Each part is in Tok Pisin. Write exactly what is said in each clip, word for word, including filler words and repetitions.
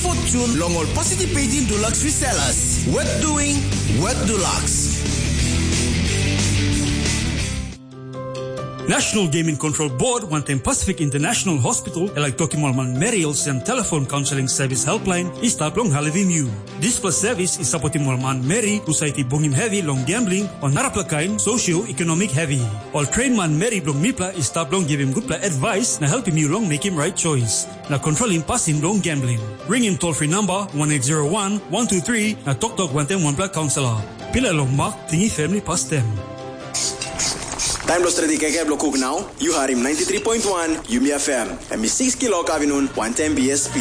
Fortune long ol participating Dulux resellers. Worth doing, worth Dulux. National Gaming Control Board wantaim Pacific International Hospital e laik tokim ol manmeri olsem telefon kaunseling servis helpline i stap long helpim yu. Dispela servis i sapotim ol manmeri husat i bungim hevi long gambling o narapela kain socio-economic hevi. Ol train manmeri bilong mipela i stap long givim gutpela advice na helpim yu long mekim right choice na kontrolim pasin bilong gambling. Ringim toll free number one eight zero one one two three na toktok wantaim wanpela kaunselor. Pilai long mak tingi family pastem. Taim bilong stretim kaikai bilong kuk nau, yu harim ninety three point one Yumi F M, em i six kilok avinun, wantaim B S P.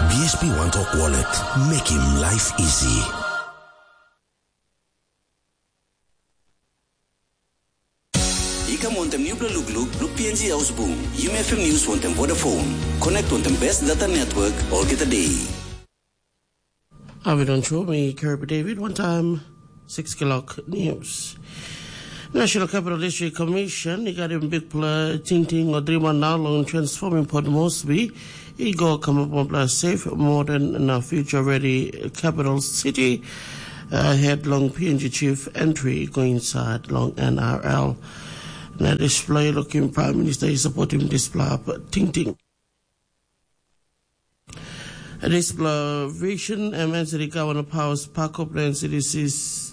B S P One Talk Wallet, mekim life easy. I kam wantaim nupela lukluk, luk P N G Ausbung, Yumi F M News wantaim Vodafone. Connect wantaim best data network, olgeta day. Avidon Chumi, Kirby David, one time, six o'clock news. National Capital District Commission i gat im bikpela tingting o drima na long transforming Port Moresby i go kamap wanpela safe, modern na future ready capital city, uh, head long P N G chief entry go inside long N R L. Na display looking Prime Minister is supporting this tingting. Dispela vision em enseri gavana paus pakop na enseri sis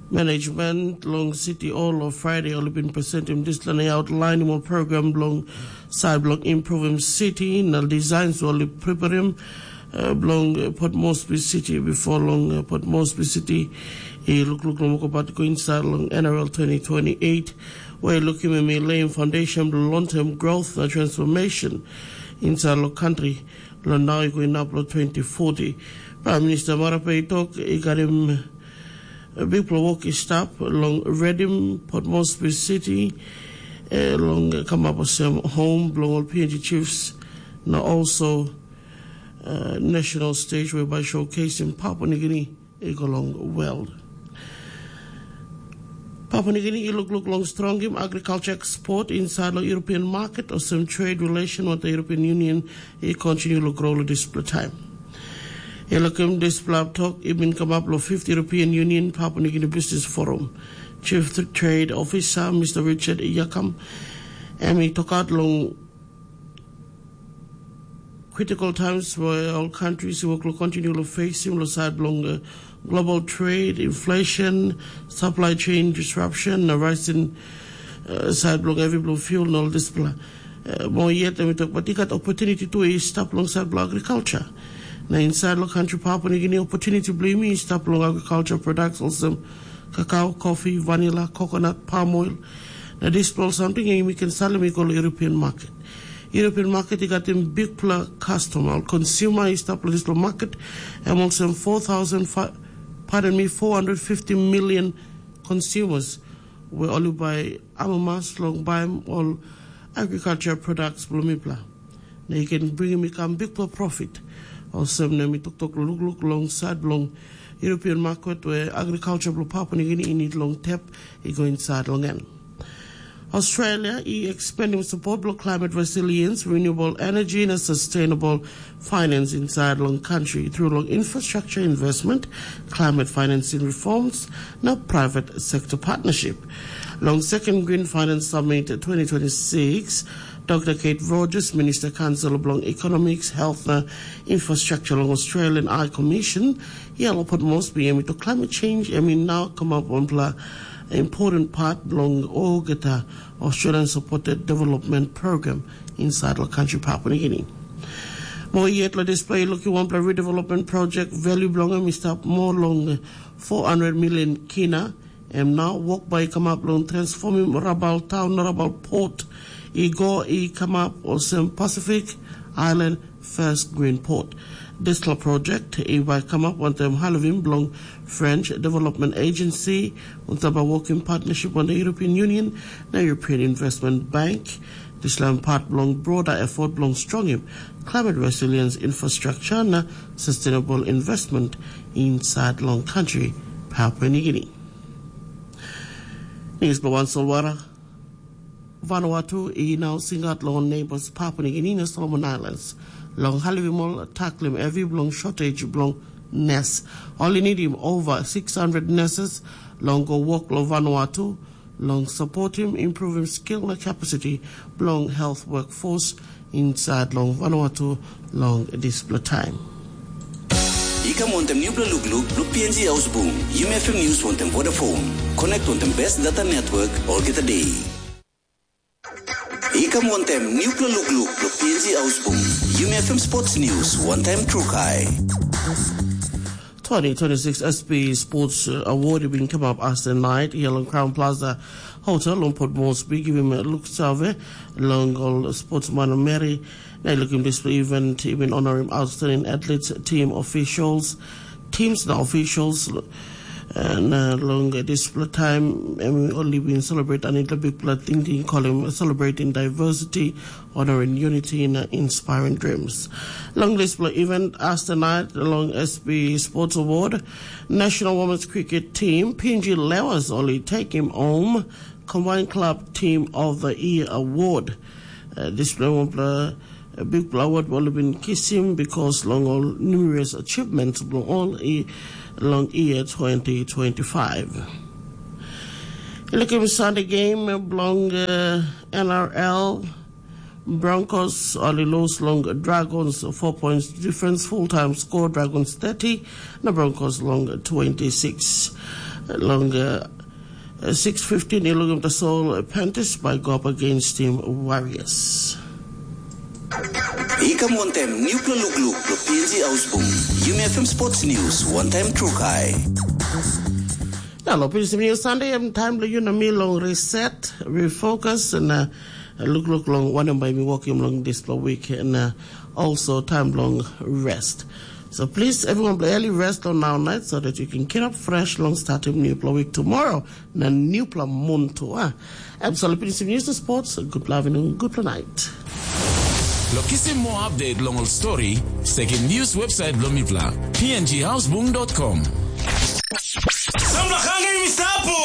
management long city all of Friday ol bin presentim dispela na outlainim ol program bilong side bilong improvim city na designs ol i preparim, uh, bilong Port Moresby city before long, uh, Port Moresby city i lukluk long wokabat go inside long N R L twenty twenty-eight, where lukim em i laying foundation bilong long-term growth na transformation inside long country. Long nau i go inap long twenty forty. Prime Minister Marape i tok i karim bikpela wok i stap long redim Port Moresby City, eh, long kamap olsem home bilong ol P N G chiefs na also, uh, national stage whereby showcasing Papua New Guinea i go long world. Papua New Guinea i lukluk long strongim agriculture export inside long European market olsem trade relation with the European Union i continue long grow long dispela time. E lukim dispela tok i bin kamap long fifth European Union Papua New Guinea Business Forum. Chief Trade Officer Mister Richard Yakam em i tokat long critical times where all countries will continue to face similar side along, uh, global trade, inflation, supply chain disruption, na rising, uh, side along every blue fuel and all this blah. Uh, more yet, and we talk about the opportunity to stop alongside agriculture. Na inside the country, Papua New Guinea opportunity blame is stop along agriculture products also cacao, coffee, vanilla, coconut, palm oil. Na dispela ol samting em i ken salim i go long European market. European market i gat im bikpela customer, ol consumer i stap long dispela market, em olsem four thousand, pardon me, four hundred fifty million consumers, we ol i bai amamas long baim ol agriculture products bilong mipela. Na i ken bringim i kam bikpela profit. Olsem na mi toktok lukluk long side bilong European market where agriculture bilong Papua New Guinea i need long tep i go inside long en. Australia i expanding support bilong climate resilience, renewable energy na sustainable finance inside long country through long infrastructure investment, climate financing reforms na private sector partnership. Long second Green Finance Summit twenty twenty-six, Doctor Kate Rogers, Minister Council bilong Economics, Health na Infrastructure long Australian High Commission, Yellow Port Moresby, em i tok climate change em i nau kamap wanpela important part bilong olgeta Australian supported development program inside long country Papua New Guinea. Mo yet lo display lukim wanpela redevelopment project value bilong em i stap more long four hundred million kina. Em nau wok bai i kamap long transformim Rabaul taun na Rabaul port i go i kamap olsem Pacific Island First Green Port. Dispela project i bai kamap wantaim halivim bilong French Development Agency, wantaim bai working partnership wantaim European Union na European Investment Bank. Dispela part bilong broader effort bilong strongim climate resilience infrastructure na sustainable investment inside long country Papua New Guinea. News by One Solwara. Vanuatu i nau singaut long neighbors Papua New Guinea na Solomon Islands long helpim ol taklim hevi bilong shortage bilong nes. Ol i nidim over six hundred nurses long go wok long Vanuatu long supportim, improvim skill na capacity bilong health workforce inside long Vanuatu long dispela time. I kam wantem nupela lukluk bilong P N G Ausbung, Yumi F M News wantem Vodafone. Connect wantem best data network olgeta day. I kam wantem nupela lukluk bilong P N G Ausbung, Yumi F M Sports News, one time trukai. twenty twenty-six S P Sports Award i bin kamap as the night here long Crown Plaza Hotel long Port Moresby, givim luksave long ol sportsman meri. Na i lukim dispela event i bin honorim outstanding athletes, team officials, teams na officials. Na long dispela taim em ol i bin celebrate anitla bikpela tingting, kolim celebrating diversity, honoring unity na inspiring dreams. Long dispela event as the night long S B Sports Award, National Women's Cricket Team Pinji Lewas ol i takim home Combined Club Team of the Year Award. Uh, dispela wanpela bikpela award ol bin kisim because long ol numerous achievements bilong ol i long year twenty twenty-five. Lukim Sunday game bilong uh, N R L. Broncos ol i lose long Dragons four points difference, full time score Dragons thirty na Broncos long twenty-six. Long uh, six fifteen i lukim tasol Panthers by go up against team Warriors. I kam wantem nupela lukluk lo P N G Ausbung. Yumi F M Sports News, one time trukai. Na lo P N G News Sunday, em time lo you na me long reset, refocus, and uh, lukluk long wanem bai mi wokim long dispela week, and uh, also time long rest. So please, everyone, early rest on our night so that you can get up fresh long starting nupela week tomorrow. Na nupela mun tu, ah. Em so lo P N G News Sports, good loving, good night. Lo kisim moa update long ol story, sekim news website bilong mipela, P N G Houseboom dot com. Samla hangim i stap.